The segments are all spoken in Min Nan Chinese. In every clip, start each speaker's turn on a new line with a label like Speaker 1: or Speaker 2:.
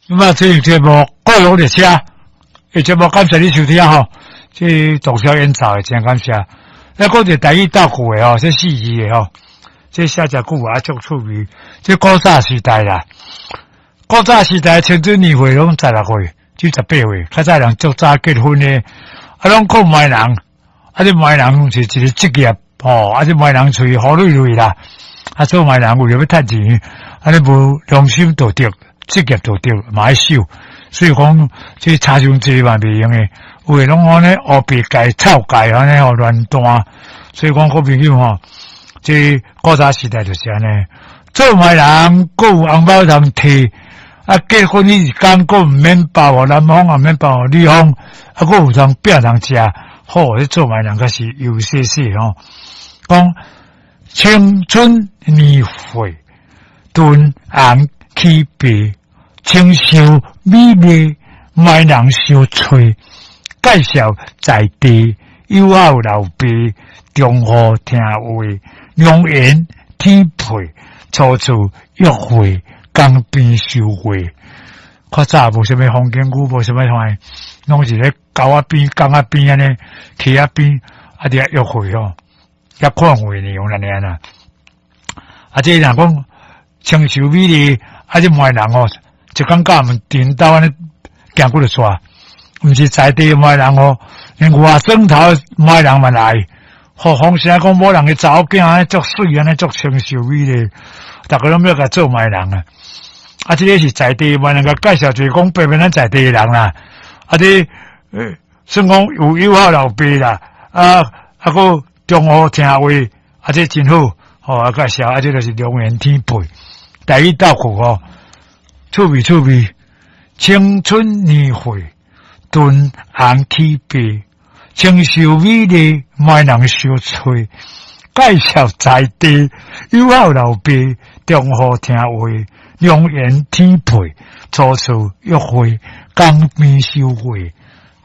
Speaker 1: 咁啊，這個節目過路列車，這節目感謝你收聽吼，這洞簫演奏的真感謝。那講一個台語鬥句的吼，這四字的吼，這寫誠久啊，足趣味。這古早時代啦，古早時代青春年歲攏16歲至18歲，較早人足早結婚的，啊，攏靠媒人，啊，這媒人是一個職業吼，啊，這媒人喙好累累啦，啊，做媒人為著欲趁錢，啊，你無良心道德、職業道德嘛愛守，所以講這差傷濟嘛袂用的，有的攏按呢烏白蓋、臭蓋按呢吼亂彈，所以講好朋友吼，這古早時代就是按呢，做媒人閣有紅包通提，啊，結婚彼一工閣毋免包予男方，也免包予女方，啊，閣有通餅通食，好，這做媒人較是悠細細吼。講青春年歲，敦紅起白，清秀美麗，媒人相揣，介紹在地友好老爸，中和聽話，良緣天配，初次約會，江邊收會。較早無啥物風景區，無啥物看，攏是咧溝仔邊、江仔邊按呢，溪仔邊，啊，佇遐約會吼，遐看月娘按呢啦。啊，這若講清秀美麗，啊，這媒人吼，一工到晚顛倒按呢行幾落逝，毋是在地媒人吼，連外省頭媒人嘛來。吼，風聲講某人的查某囝按呢足媠，按呢足清秀美麗，逐个攏欲共做媒人啊。啊，這个是在地媒人共介紹，就是講白白咱在地的人啦。啊，這算講有友好老爸啦，啊啊，閣中和聽話，啊，這真好，吼啊介紹，啊，這就是良緣天配，台語鬥句吼，趣味趣味，青春年歲，敦紅起白，清秀美麗，媒人相揣，介紹在地友好老爸，中和聽話，良緣天配，初次約會，江邊收會。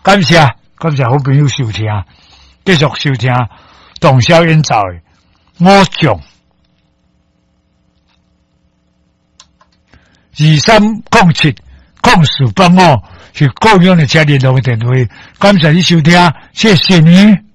Speaker 1: 感謝感謝好朋友收聽，繼續收聽洞簫演奏的五將23070485是高雄的車聯絡的電話。感謝你收聽，謝謝你。